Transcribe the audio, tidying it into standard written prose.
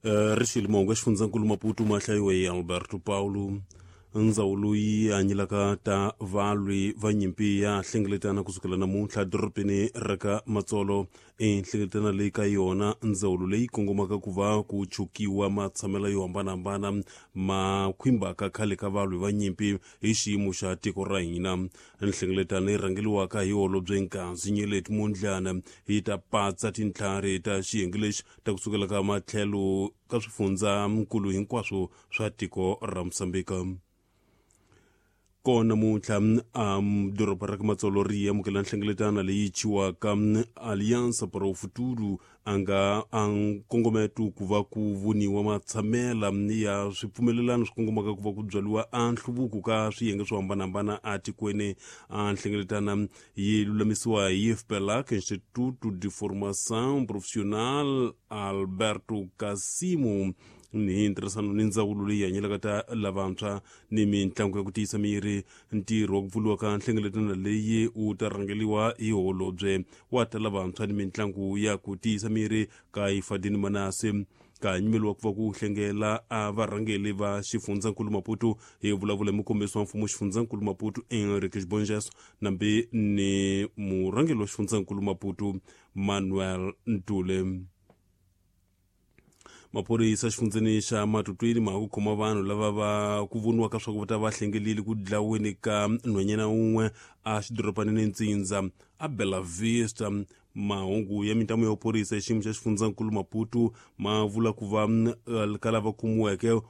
Ri mahungu ya xifundzankulu Maputo ma hlayiwe hi Alberto Paulo. Ndzawulo yi hanyelaka ta valwi va nyimpi ya hlengeletana kusukela namuntlha dorobeni ra ka Matsolo. I nhlengeletana leyi ka yona ndzawulo leyi kongomaka ku va ku chukiwa matshamelo yo hambanahambana ma khwimbaka khale ka valwi va nyimpi hi xiyimo xa tiko ra hina. Nhlengeletano yi rhangeliwaka hi holobye Nkazi Nyeleti Mondlana yi ta patsa tintlhari ta xiyenge lexi ta kusukela ka matlhelo ka swifundzankulu hinkwaswo swa tiko ra Mosambika. Kona namuntlha doroba ra ka Matsolo ri amukela nhlengeletano leyi chiwaka Aliança para o Futuro, a nga a nkongometo ku va ku voniwa matshamela ya swipfumelelano swi kongomaka ku va ku byariwa a nhluvuko ka swiyenge swo hambanahambana atikweni. A nhlengeletana yi lulamisiwa hi FPELAC, Instituto de Formação Profissional Alberto Cassimo, ni ntirhisano ni ndzawulo leyi hanyelaka ta lavantshwa ni mitlangu ya ku tiyisa miri. Ntirho wa ku pfuriwa ka nhlengeletano leyi wu ta rhangeliwa hi holobye wa ta lavantshwa ni mitlangu ya ku tiyisa miri ka Ifadini Manase, ka nyimeliwa ku va ku hlengela a varhangeli va xifundzankulu Maputo. Hi vulavula hi mukombisi wa mfumo xifundzankulu Maputo Enrique Xibongeso, nambi ni murhangeli wa xifundzankulu Maputo Manuel Ntule. Maphorisa xifundzeni xa Matutwini ma ku khoma vanhu lava va ku voniwaka swa ku va ta va hlengelile ku dlaweni ka nhwanyana wun'we a xidorobanini Ntsindza a Bela Vista. Mahungu ya mintamu ya vuphorisa hi xiyimo xa xifundzankulu Maputo ma vula ku va ka lava kumiweke.